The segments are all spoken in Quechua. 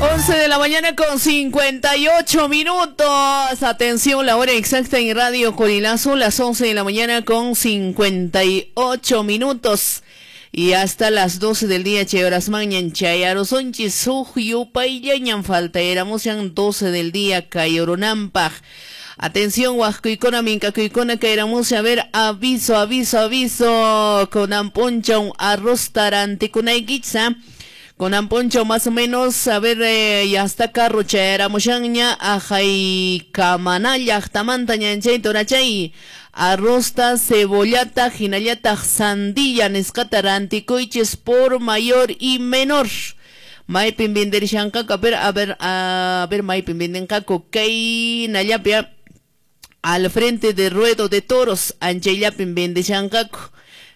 11 de la mañana con 58 minutos. Atención, la hora exacta en Radio Corilazo, las 11 de la mañana con 58 minutos. Y hasta las 12 del día, chay horasmanñan chayarusonchis, suj yupayllañan falta, éramos 12 del día, kayurunampaq. Atención, huascuicona, mincacuicona, caeramos a ver, aviso, aviso, aviso, con amponcha un arroz taranticunayquicha. Con amponcho más o menos, a ver, ya está carro chayaramushanña, ajay kamana llaqtamanta ñanchay torachay, arrosta, cebollata, hinallataq sandilla nisqata rantikuychis por mayor y menor. Maypin venderishanqaku, a ver, a ver, a ver, maypin vendenqaku, kay nallapia, al frente de Ruedo de Toros, anchayllapin vendishanqaku.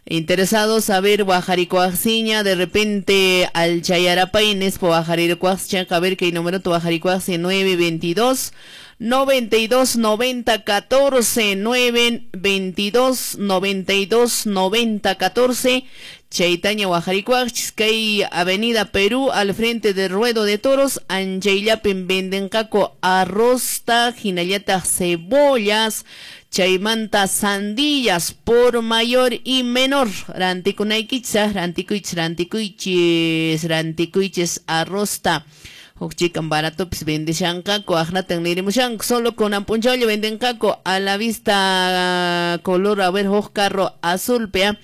Interesados a ver Guajarikuaxiña, de repente al Chayarapay, Nespo Guajarikuaxiña, a ver qué número tu Guajarikuaxi, 922 92 90 14, 922 92 90 14, Chaitaña Guajarikuaxis, kay Avenida Perú, al frente de Ruedo de Toros, anchayllapin vendenqaku arrosta, hinallataq cebollas, chaymanta sandillas por mayor y menor. Rantikunaykichis, rantikuychis, rantikuychis, rantikuychis arrosta. Huk chikan baratopis vendishanqaku, aqnatan nirimushanku, solo con ampunchawlla vendenqaku a la vista color, a ver, huk carro azul, pea.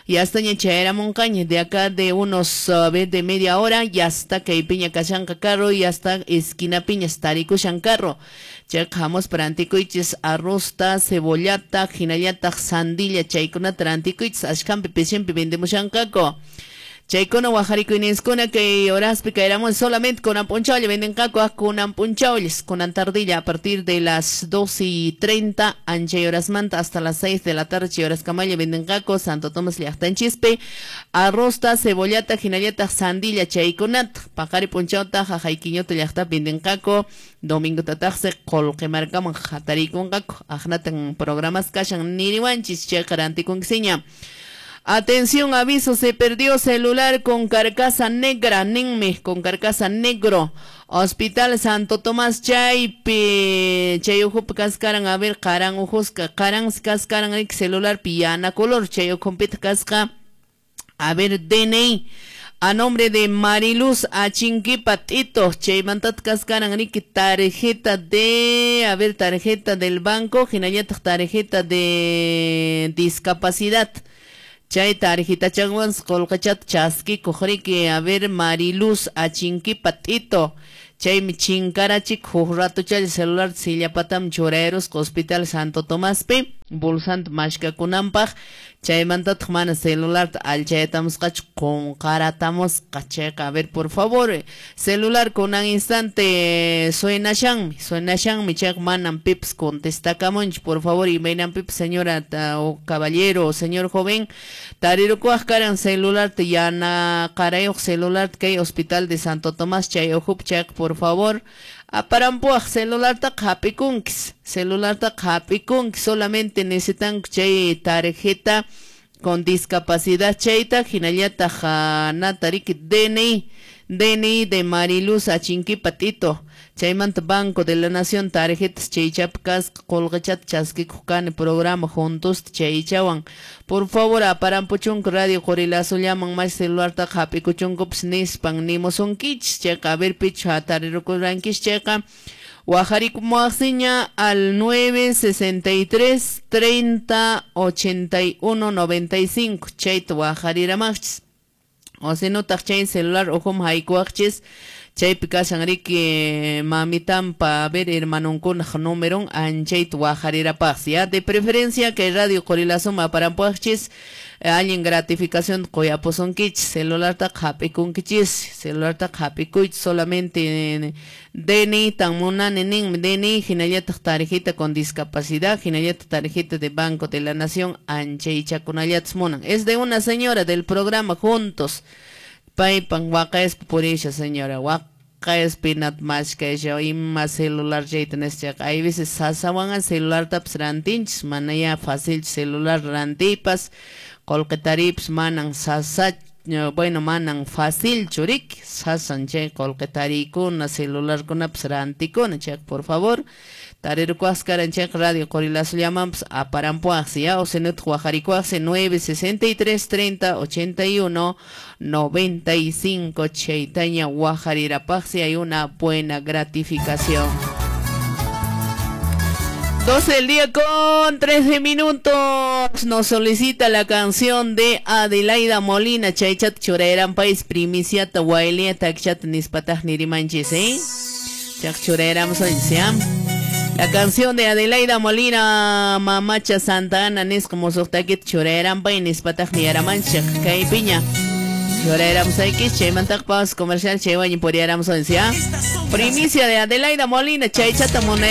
Ya está ña chayaramunqaña, de acá de unos, a ver, de media hora, ya está kay piña kashanqa carro, ya está esquina piña tarikushan carro. Chayqamos para antikuychis arrosta, cebollata, hinallataq sandilla, chaykunata rantikuychis, ashkampi pishinpi vendemushanqaku. Chaykuna wajarikuyninskuna kay horaspi caeramos solamente con ampunchawlla vendenqaku, con ampunchawllas, con antardilla a partir de las 2:30 anchay horasmanta hasta las 6 de la tarde chay horaskamalla vendenqaku Santo Tomás llaqtanchispi arrosta, cebollata, hinallataq sandilla chaykunata paqari punchawta jajaykiñuta llaqtapi vendenqaku domingo tataqsi qullqimarkaman hatarikunqaku aqnatan programas kashan niriwanchis chayqa rantikunkisiña. Atención, aviso, se perdió celular con carcasa negra, ninmi, con carcasa negro. Hospital Santo Tomás chaypi, chay ujupi kaskaran, a ver, qaran ujusqa, qaran kaskaran, celular piana color, chay ujumpita kasqa, a ver, DNI. A nombre de Mariluz Achinquipa Tito, chaymantat kaskaran, riki, tarjeta de, a ver, tarjeta del banco, hinallataq tarjeta de discapacidad. Chay tarjeta chanwan qullqichat chaskikuq riki, a ver, Mariluz Achinquipa Tito, chaymi chinkarachik huk ratochalla celular sillapatam churayarusqa Hospital Santo Tomaspi bolsanta mashkakunanpaq, chaymantataq mana celularta allchayatamusqachu qunqaratamusqa chayqa, a ver, por favor, celular kunan instante suenashanmi, suenashanmi chayqa manam pipas contestakamunchu, por favor, imaynanpipas señora o caballero o señor joven tarirukuwaq karan celularta yanaqarayuq celularta kay Hospital de Santo Tomás chay ujupi chayqa, por favor, aparampuwaq celulartaqa hap'ikunkis, celulartaqa hap'ikunkis, solamente necesitanku chay tarjeta con discapacidad chayta, hinallataq nata riki DNI, DNI de Mariluz Achinquipa Tito, chaymanta Banco de la Nación tarjetas chaychapi kasqa qullqichata chaskikuq kani programa juntos chaychawan, por favor aparampuchunku Radio Qorilazullaman mash celulartaqa hap'ikuchunkupas nispan nimusunkichis chayqa, a ver pichu hatarirukurankichis chayqa wajarikumuwaqsiña al 963 30 81 95 chayta wajariramaqchis, o si no taq chay celular ujum haykuwaqchis chaypi kashan riki mamitampa, a ver, hermanunkunaq númeron anchayta wajarirapaqsi, ya de preferencia que Radio Qorilazuma aparampuwaqchis allin gratificación qoyapusunkichis, celulartaqa hap'ikunkichis, celulartaqa hap'ikuychis, solamente DNI tan munani ninmi, DNI hinallataq tarjeta con discapacidad, hinallataq tarjeta de Banco de la Nación anchaychakunallatas munan. Es de una señora del programa Juntos, paypan waqayaspa purisha señora, waqayaspinat mashkasha ima celular chayta nischaqa, hay veces sasawanqa celulartapas rantinchis, mana ya fácil celular rantipas, qullqi tariypas manan sasa Bueno, manan fácil churik, sasan chay qolqe tarikuna, celularkunapas rantikuna, chay por favor, tarirkuas karan chay radio Qorilazo llamanpas aparampuaqsi, ya, o senut wajarikuaqsi 963 30 81 95 chaytaña wajarirapaqsi, hay una buena gratificación. 12 del día con 13 minutos. Nos solicita la canción de Adelaida Molina. Chaychat churayran país primiciata wailia takchat nispataq nirimanchis, ¿eh? Chak churayram La canción de Adelaida Molina, Mamacha Santa Ana, nisqa musuqtakita churayran pay nispataq niyaramanchik kay piña. Churayram saykis chaymantaq paus comercial chaywañi puriyaram ¿ya? Primicia de Adelaida Molina, chaychata munay.